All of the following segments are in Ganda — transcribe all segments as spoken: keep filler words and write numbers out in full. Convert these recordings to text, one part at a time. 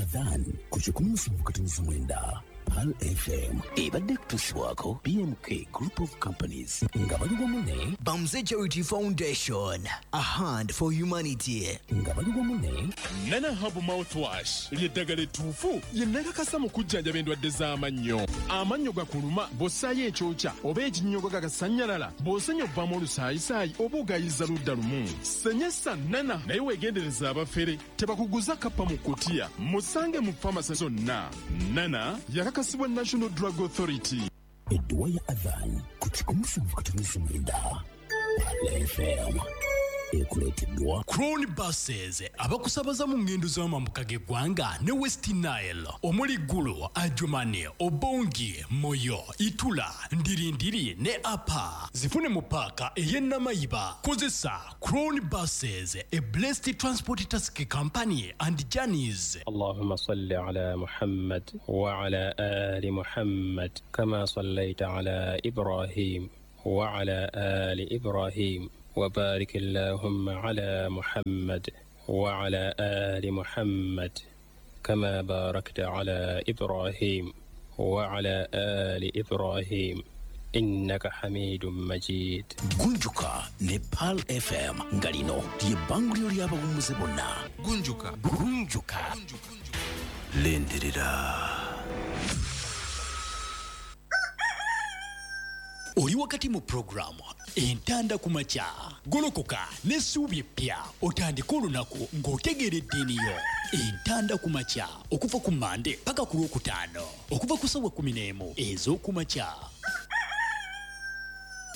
Adhan ku kikumi musanvu katonnyeza mwenda Pearl F M ebadde kutuusibwako B M K Group of Companies nga bali wamu ne Bamze Charity Foundation, a hand for humanity. Nga bali wamu ne Nana Herbal Mouthwash ly'eddagala ettuufu lye nakakasa mu kujjanjaba endwadde z'amannyo. Amannyo gakuluma, bw'ossaayo ekyokya oba ekinnyogo gagasannyalala, bw'osenya ovaamu olusaayisaayi oba ogayiza ludda lumu, senyesa Nana. Naye weegendereza abafere, tebakuguza kappa mu kutiya. Musange mu famasi zonna. Nana yakakasibwa National Drug Authority. Edduwa ya Adhan ku kikumi musanvu katonnyeza mwenda Pearl F M ekuleeteddwa Crown Buses, abakusabaza mu ngendo z'amambuka g'eggwanga ne West Nile, omuli Gulu, Adjumani, Obongi, Moyo, Itula, Ndirindiri ne Apa. Zifune mu paaka ey'e Namayiba. Kozesa Crown Buses, a blessed transport taxi company and journeys. اللهم صل على محمد وعلى آل محمد كما صليت على إبراهيم وعلى آل إبراهيم، وبارك اللهم على محمد وعلى آل محمد كما باركت على إبراهيم وعلى آل إبراهيم، إنك حميد مجيد. Gunjuka ne Pearl F M, nga lino ly'ebbanguliro ly'abawummuze bonna. Gunjuka. Gunjuka. Lindirira. Oli wakati mu puroguramu Entanda ku Makya. Golokoka n'essuubi eppya, otandike olunaku ng'otegeera eddiini yo. Entanda ku Makya, okuva ku Mande paka ku Lwokutaano, okuva ku ssaawa kumi n'emu ez'okumakya.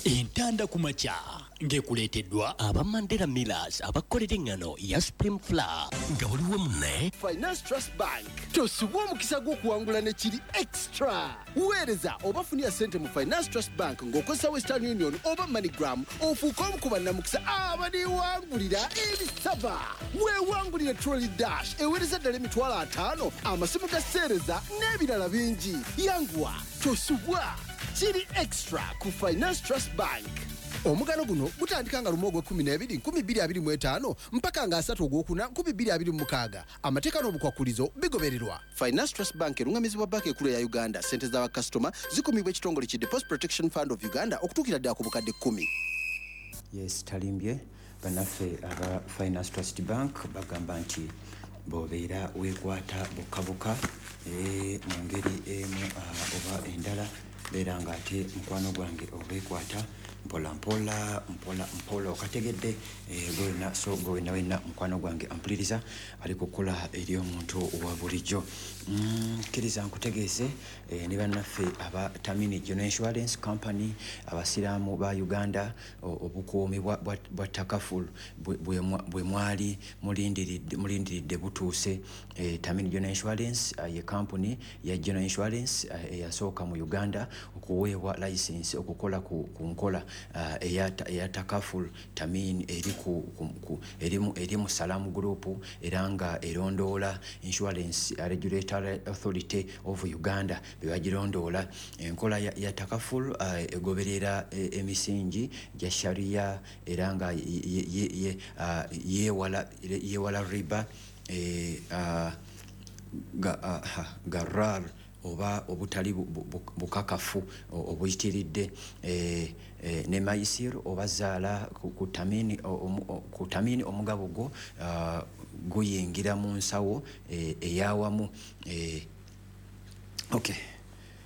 Entanda ku Makya ng'ekuleeteddwa aba Mandela Millers, abakolera eŋŋano ya Supreme Flour. Nga buli wamu ne Finance Trust Bank. Tosubwa omukisa gw'okuwangula ne kiri extra. Weereza oba funira ssente mu Finance Trust Bank ng'okozesa Western Union oba MoneyGram, ofuuke omu ku bannamukisa abaliwangulira ebisaba. Weewangulire Trolley Dash eweereza ddala emitwalo ataano, amasimu ga seereza n'ebirala bingi. Yanguwa, tosubwa, kiri extra ku Finance Trust Bank. Omugano guno gutandika nga lumu ogwekumi n'ebiri nkumi bbiri abiri mu etaano mpaka nga asatu ogwokuna nkumi bbiri abiri mu mukaaga. Amateeka n'obukwakulizo bigobererwa. Finance Trust Bank erungamizibwa Banka Ekulu eya Uganda. Sente z'abakasitoma zikumibwa ekitongole ki Deposit Protection Fund of Uganda okutuukira ddala ku bukadde kkumi. Yes, talimbye. Bannaffe aba Finance Trust Bank bagamba nti bw'obeera weekwata bukabuka eh, mu ngeri emu ah, oba endala, beera ng'ate mukwano gwange obeekwata mpola mpola mpola mpola, okategedde eh, gwena. So gwe wenna wenna mukwano gwange ampuliriza ali kukola eri omuntu wa bulijjo, Mm, kkiriza nkutegeeze eh, ne bannaffe aba Tamini General Insurance Company, abasiraamu ba Uganda, o- obukuumi bwa- bwa bwa takaful bwe- bwe mwa- bwe mwali mulindiridde mulindiridde butuuse. eh, Tamini General Insurance eh, ye kampuni ya General Insurance eh, eyasooka mu Uganda okuweebwa license okukola ku, ku nkola uh, eya, eya takaful. Tamin eri ku, ku, ku, eri mu, eri mu Salam Group, era nga erondoola Insurance Regulatory Authority of Uganda be bagirondoola. Enkola ya, ya takaful uh, egoberera eh, emisingi gya sharia, era nga ye- ye- ye- uh, yeewala yeewala riba, eh, uh, ga, uh, ha, garar oba obutali bu- bu- bu- bukakafu o- obuyitiridde, eh, eh, ne maisir oba zaala. ku, ku tamini, o- omu- o- ku Tamini omugabo gwo uh, guyingira mu nsawo eh, eyawamu eh, okay.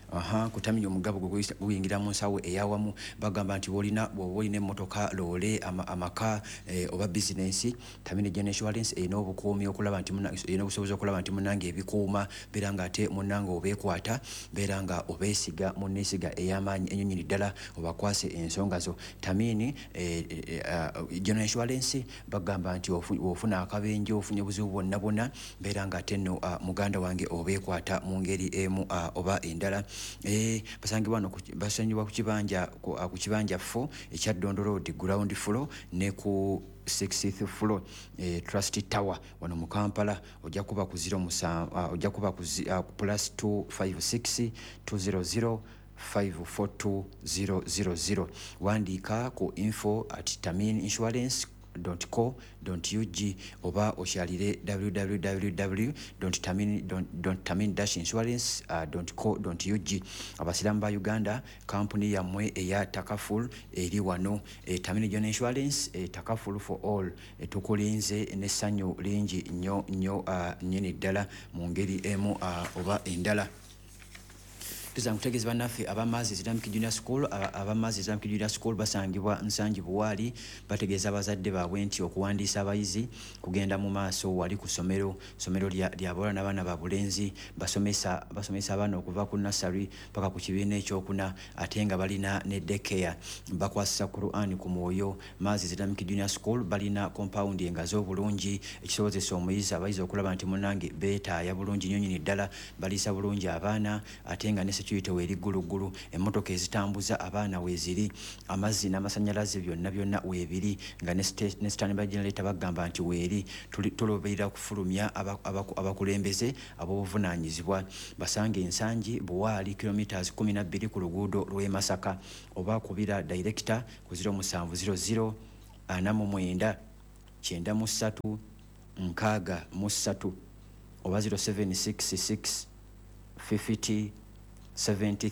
Aha, ku Tamini omugabo gwe guyisa- guyingira mu nsawo eyawamu. Bagamba nti bw'olina bw'oba olina emmotoka, loole, ama, amaka eh, oba bizinensi, Tamini General Insurance erina obukuumi okulaba nti muna- erina obusobozi okulaba nti munange ebikuuma, beera nga ate munnange obeekwata, beera nga obeesiga munneesiga ey'amaanyi ennyonyi ddala, obakwase ensonga zo. Tamini eh, eh, uh, General Insurance bagamba nti ofu- ofuna akabenje, ofunye obuzibu bwonna bwonna, beera nga ate nno uh, muganda wange obeekwata mu ngeri emu uh, oba endala. eh, basangibwa wano ku- basangibwa ku kibanja ku, uh, ku kibanja four ekya Dondo Road, ground floor, ne ku sixth floor, eh, Trust Tower wano mu Kampala. Ojja kuba ku zero musa, uh, ojja kuba ku, zi- uh, ku plus two five six two zero zero five four two zero zero zero. Wandiika ku info at tamin insurance co ug oba okyalire w w w tamin insurance co ug. Abasiraamu ba Uganda, kampuni yammwe eya Takaful eri wano, e, Tamin General Insurance, e, Takaful for all. e, tukulinze n'essanyu lingi nnyo nnyo uh, nnyini ddala mu ngeri emu uh, oba endala. Tuza nkutegeeza bannaffe abamazi Islamic Junior School. Abamazi Islamic Junior School basangibwa Nsangi Buwaali. Bategeeza abazadde baabwe nti okuwandiisa abayizi kugenda mu maaso wali ku ssomero. Ssomero lya bawala n'abaana ba bulenzi. Basomesa basomesa abaana okuva ku nursery paka ku kibiina ekyokuna, ate nga balina ne daycare. Bakwasisa Quran ku mwoyo. Maazi Islamic Junior School balina compound engazi obulungi, ekisobozesa omuyizi, abayizi okulaba nti munnange beetaaya bulungi nnyo nnyini ddala. Baliisa bulungi abaana, ate nga ne security weeri gguluggulu. Emmotoka ezitambuza abaana weeziri, amazzi n'amasannyalaze byonna byonna weebiri, nga ne standby generator bagamba nti weeri. Tuloberera kufulumya abakulembeze ab'obuvunaanyizibwa. Basange Ensangi Buwaali, kilometers kumi na bbiri ku luguudo lw'e Masaka, oba kubira director ku zero musanvu zero zero ana mu mwenda kyenda mu ssatu nkaaga mu ssatu oba zero seven six six fifty seventy.